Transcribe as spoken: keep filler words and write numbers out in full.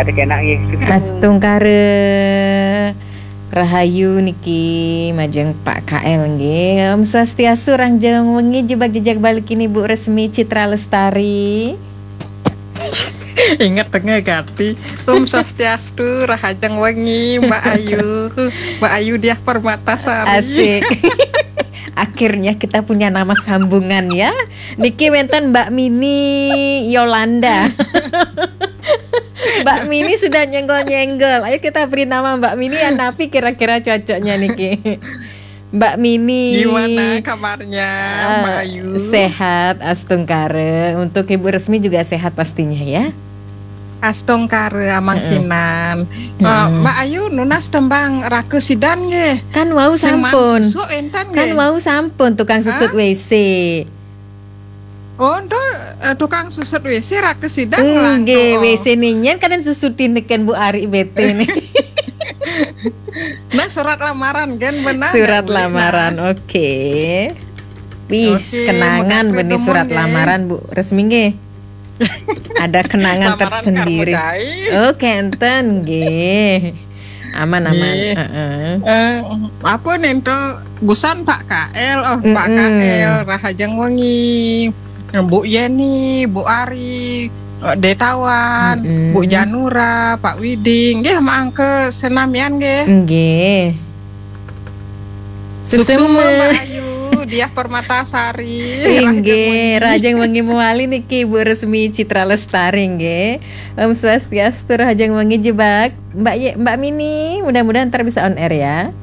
Ada kena nggih. Astungkara. Rahayu niki majeng Pak K L nggih. Om Swastiastu, rahajeng wengi, jebak jejak balik ini Bu Resmi Citra Lestari. Ingat tengah gati. Om Swastiastu, rahajeng wengi, Mbak Ayu. Mbak Ayu Diah Permatasari. Asik. Akhirnya kita punya nama sambungan ya. Niki wenten Mbak Mini Yolanda. Mbak Mini sudah nyenggol-nyenggol. Ayo kita beri nama Mbak Mini, ya, napi kira-kira cocoknya niki. Mbak Mini. Gimana kabarnya, Eh, Mbak Ayu? Sehat, astungkara. Untuk Ibu Resmi juga sehat pastinya ya. Astungkara amangkinan. Eh, Mm-mm. Mbak Ayu nunas tembang Raka Sidan nggih. Kan wau Sing sampun. Susuk enten Kan nggih. Wau sampun tukang susut W C. Oh, ento, eh, tukang susut W C Raka Sidan Nggih, ngelantur. W C ninyen kan susutin teken Bu Ari bete nih. Nah, surat lamaran kan benar. Surat nggak, Bu? lamaran, Nah. Oke. Wis, Oke, kenangan mengapa benih ngomong surat nggih? Lamaran, Bu Resmi nggih. Ada kenangan Lamaran tersendiri. Karmudai. Oke, enten nggih. Aman, aman. Nggih. Heeh. Eh, apa nih, ento busan Pak K L, oh, Pak Mm-mm. K L, rahajeng wengi. Bu Yeni, Bu Ari, eh, Detawan, Mm-mm. Bu Janura, Pak Widing, nggih, mangke senamian nggih. Nggih. Suksma, Suksma. Mbak Ayu, Diah Permatasari. Inggih, rahajeng wengi mewali niki Bu Resmi Citra Lestari nggih. Om Swastiastu, rahajeng wengi jebak. Mbak Ye, Mbak Mini, mudah-mudahan ntar bisa on air ya.